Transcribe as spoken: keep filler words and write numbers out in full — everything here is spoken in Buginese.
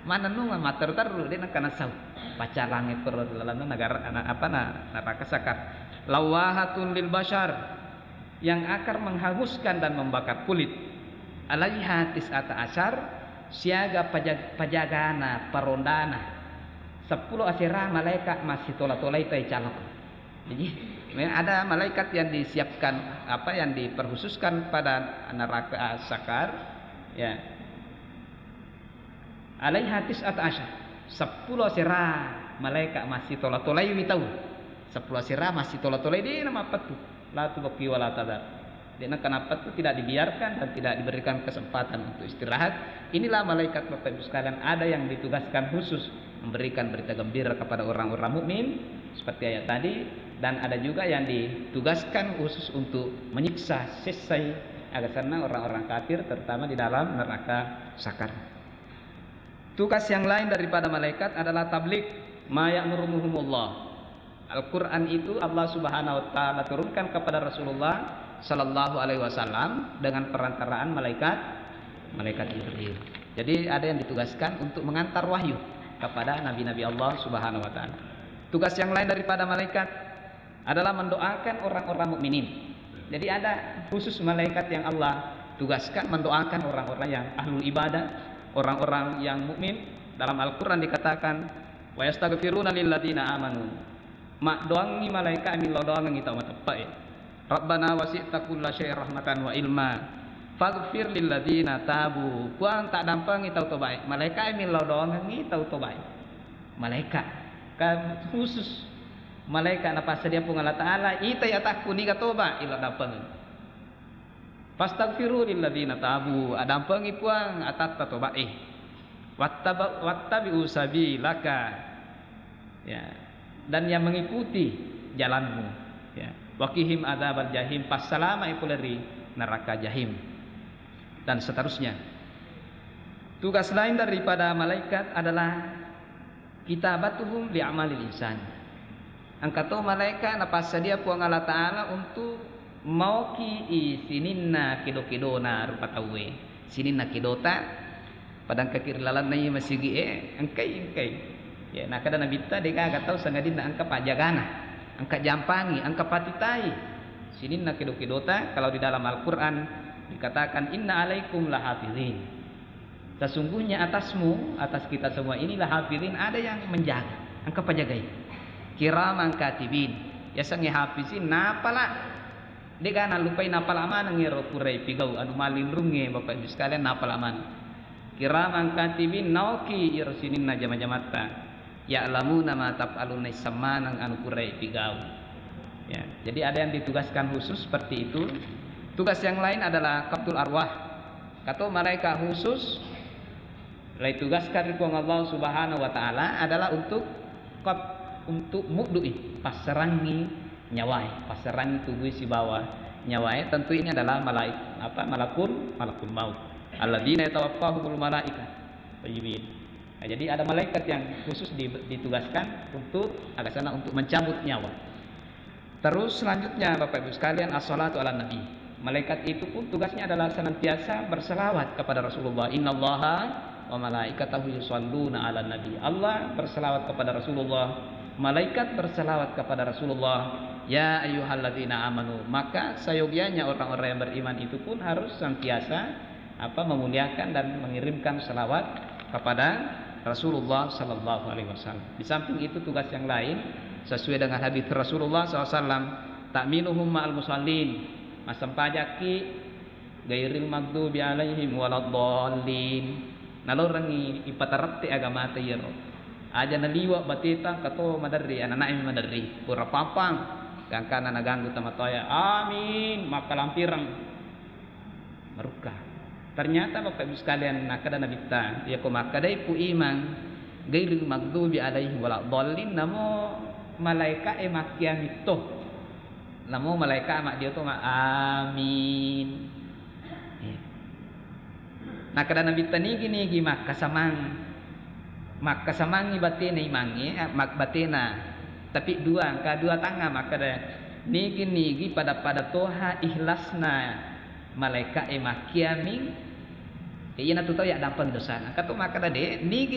Manennung matteru-teru, de' nakkana sau. Pacalangnge koro ri lalenna negara, na-, apa, na-, neraka sakar. Lawahatun lil bashar, yang akan menghanguskan dan membakar kulit. Alaiha tis'ata asyar, siaga paja-, pajagana, parondana. Seppulo asera malaika massitola-tolai tai calok. Jadi, memang ada malaikat yang disiapkan, apa, yang diperkhususkan pada neraka sakar, ya. Alaiha tis'ata asyar. Seppulo asera malaika massitola-tolaiwi tau. Seppulo asera massitola-tolai, de' namappettu. La tubqi wa la tadhar. De' nakkanappettu, tidak dibiarkan dan tidak diberikan kesempatan untuk istirahat. Inilah malaikat, Bapak Ibu sekalian, ada yang ditugaskan khusus memberikan berita gembira kepada orang-orang mukmin seperti ayat tadi, dan ada juga yang ditugaskan khusus untuk menyiksa, sessai, aga senna orang-orang kafir, terutama di dalam neraka sakar. Tugas yang lain daripada malaikat adalah tabligh ma ya'muruhumullah. Al-Quran itu Allah Subhanahu wa Ta'ala turunkan kepada Rasulullah Sallallahu Alaihi Wasallam dengan perantaraan malaikat, malaikat Jibril. Jadi, ada yang ditugaskan untuk mengantar wahyu kepada nabi-nabi Allah Subhanahu wa Ta'ala. Tugas yang lain daripada malaikat adalah mendoakan orang-orang mukminin. Jadi, ada khusus malaikat yang Allah tugaskan mendoakan orang-orang yang ahlul ibadah, orang-orang yang mukmin. Dalam Al-Quran dikatakan, "Wa yastaghfiruna lilladzina amanu." Maddoangngi malaika millau doangengngi tau mateppe'e. "Rabbana wasi'ta kulla syai'in rahmatan wa ilma. Faghfir lilladzina tabu." Puang, taddampengi tau tobae. Malaika millau doangengngi tau tobae. Malaika. Kan khusus malaika napassadia Puang Allah Ta'ala, itai atakku niga toba, ilo dampengeng. "Fastaghfiru lilladzina tabu," adampengi Puang atatta tobae. "Wattaba-, wattabi'u sabilaka." Ya. Dan yang mengikuti jalanmu. Ya. "Waqihim adzabal jahim," passalama'i pole ri neraka jahim. Dan seterusnya. Tugas lain daripada malaikat adalah kitabatuhum li amalil insan. Engka to malaika napassadia Puang Allah Ta'ala untuk maoki i sininna kedo-kedona rupa tauwe. Sininna kedota, pada engkaki ri lalenna iye masigi'e, engkai, engkai. Ya, nakkeda Nabitta, degaga tau sangadinna engka pajagana, engka jampangi, engka patitai. Sininna kedo-kedota, kalau di dalam Al-Quran dikatakan, "Inna alaikum lahafizin." Sesungguhnya atasmu, atas kita semua ini, lahafizin, ada yang menjaga, engka pajagai. Kiraman katibin, yasengnge hafizin, napala, de'ga nallupai, napala maneng ero purai pigau, anu mallinrungnge, Bapak Ibu sekalian, napala maneng. Kiraman katibin, naoki iro sininna jama-jamatta. Ya'lamuna ma taf'alun, naisseng maneng anu purai pigau. Ya, jadi ada yang ditugaskan khusus seperti itu. Tugas yang lain adalah qabdul arwah. Kato malaika khusus, laitugaskan ri Puang Allah Subhanahu wa Ta'ala adalah untuk qab-, untuk muddu'i, passerangi nyawae, passerangi tubui sibawa nyawae. Tentu ini adalah malaik-, apa, malakul, malakul maut. Alladzina yatawaffahumul malaika. Thayyibin. Nah, jadi ada malaikat yang khusus di-, ditugaskan untuk, aga senna, untuk mencabut nyawa. Terus selanjutnya, Bapak Ibu sekalian, as-salatu ala nabi. Malaikat itu pun tugasnya adalah senantiasa berselawat kepada Rasulullah. "Innallaha wa malaikatahu yusalluna ala nabi." Allah berselawat kepada Rasulullah, malaikat berselawat kepada Rasulullah. "Ya ayyuhalladzina amanu." Maka seyogianya orang-orang yang beriman itu pun harus senantiasa, apa, memuliakan dan mengirimkan selawat kepada Rasulullah Sallallahu Alaihi Wasallam. Di samping itu, tugas yang lain sesuai dengan hadis Rasulullah Sallallahu Alaihi Wasallam, "Ta'minuhum ma'al musallin." Massempajakki ghairil maghdubi alaihim waladdallin. Nalorengngi ipatarette agamata iyaro. Aja naliwa bateta engka to maderri, anana'e maderri. Pura pampang, gangkana naganggu tomatoae. Amin, makkalampireng. Marukka. Ternyata, Bapak Ibu sekalian, nakkeda Nabitta, iyako makkedai pu imang, ghairil maghdubi alaihim waladdallin, namo malaika'e makkiamitto. Namo malaika maddio to ma-, amin. Iya. Nakkeda Nabitta, nigi-nigi makkasamang, makkasamangngi batena imangnge, eh, mak-, batena. Tapi dua, engka dua tangnga makkeda, nigi-nigi pada-pada toha ikhlasna malaika'e makkiaming, eh, iyanatu tau yaddampeng dosana. Engka to makkeda, de, nigi